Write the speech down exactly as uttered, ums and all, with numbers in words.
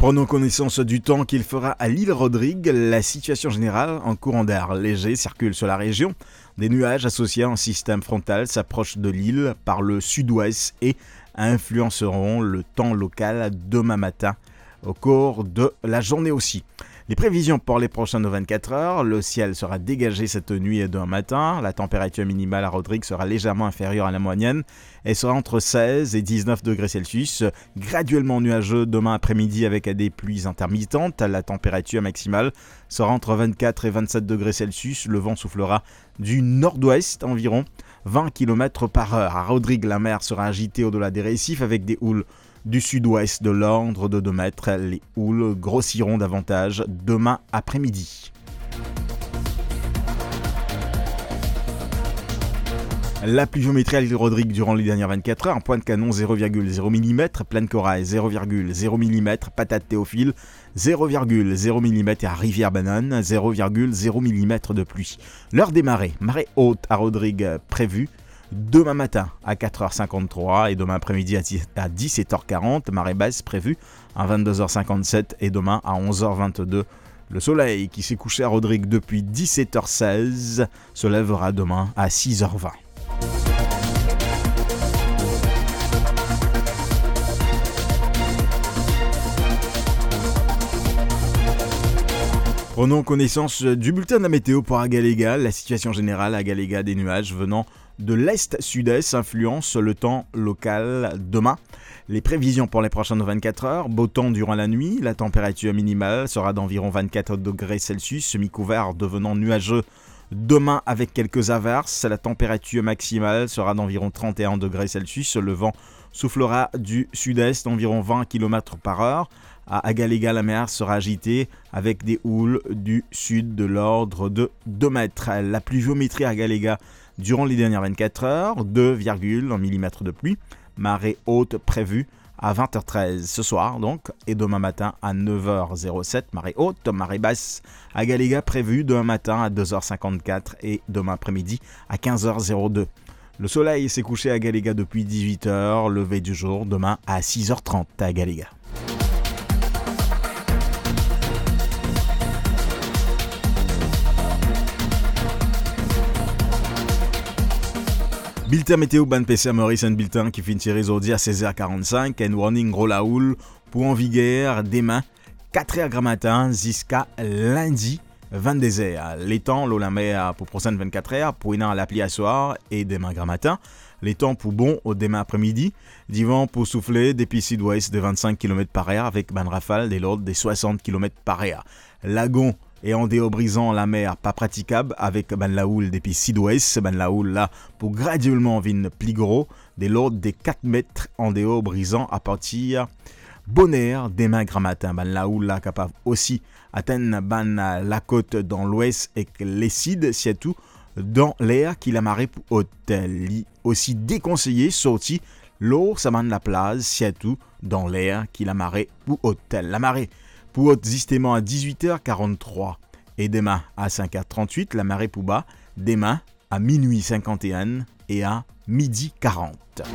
Prenons connaissance du temps qu'il fera à l'île Rodrigue. La situation générale, un courant d'air léger circule sur la région. Des nuages associés à un système frontal s'approchent de l'île par le sud-ouest et influenceront le temps local demain matin au cours de la journée aussi. Les prévisions pour les prochaines vingt-quatre heures, le ciel sera dégagé cette nuit et demain matin. La température minimale à Rodrigue sera légèrement inférieure à la moyenne et sera entre seize et dix-neuf degrés Celsius. Graduellement nuageux demain après-midi avec des pluies intermittentes. La température maximale sera entre vingt-quatre et vingt-sept degrés Celsius. Le vent soufflera du nord-ouest, environ vingt kilomètres par heure. À Rodrigue, la mer sera agitée au-delà des récifs avec des houles du sud-ouest de l'ordre de deux mètres. Les houles grossiront davantage demain après-midi. La pluviométrie à l'île Rodrigue durant les dernières vingt-quatre heures: Pointe-Canon, zéro virgule zéro millimètre, Plaine Corail, zéro virgule zéro millimètre, Patate Théophile, zéro virgule zéro millimètre, et à Rivière-Banane, zéro virgule zéro millimètre de pluie. L'heure des marées: marée haute à Rodrigue prévue demain matin à quatre heures cinquante-trois et demain après-midi à dix, à dix-sept heures quarante, marée basse prévue à vingt-deux heures cinquante-sept et demain à onze heures vingt-deux. Le soleil qui s'est couché à Rodrigue depuis dix-sept heures seize se lèvera demain à six heures vingt. Prenons connaissance du bulletin de la météo pour Agalega. La situation générale à Agalega: des nuages venant de l'est-sud-est influencent le temps local demain. Les prévisions pour les prochaines vingt-quatre heures: beau temps durant la nuit, la température minimale sera d'environ vingt-quatre degrés Celsius, semi-couvert devenant nuageux demain avec quelques averses. La température maximale sera d'environ trente et un degrés Celsius. Le vent soufflera du sud-est, environ vingt kilomètres par heure. À Agalega, la mer sera agitée avec des houles du sud de l'ordre de deux mètres. La pluviométrie à Agalega durant les dernières vingt-quatre heures: deux virgule un millimètre de pluie. Marée haute prévue à vingt heures treize ce soir, donc, et demain matin à neuf heures zéro sept, marée haute. Marée basse à Agalega prévue demain matin à deux heures cinquante-quatre et demain après-midi à quinze heures zéro deux. Le soleil s'est couché à Agalega depuis dix-huit heures, lever du jour demain à six heures trente à Agalega. Bilten meteo bann peser Moris, enn bilten ki finn tire zordi a sez er karann-sink, enn warning gro laoul pou an viger dime, kat er gramatin ziska lindi, vennde zer. Letan lor lamer pou prosenn vennkat er, pou ena lapli aswar e dime gramatin. Letan pou bon dime apremidi. Divan pou soufle depi sidwes de vennsenk kilomet par er avek bann rafal de lord de swasant kilomet par er. Lagon e andeor Brizan lamer pa pratikab avek bann laoul depi sidwes. Bann laoul la pou gradielman vinn pli gro de lord de kat met andeor Brizan apartir boner dime gramatin. Bann laoul la kapav osi atenn bann lakot dan lwes ek lesid, sirtou dan ler ki lamare pou ot. Li osi dekonseye sorti lor sa bann laplaz, sirtou dan ler ki lamare pou ot. Lamare pou ot zisteman a dizwit er karanntrwa e dime a sink er trantwit. Lamare pou ba dime a minwi sinkant-e-enn e a midi karant.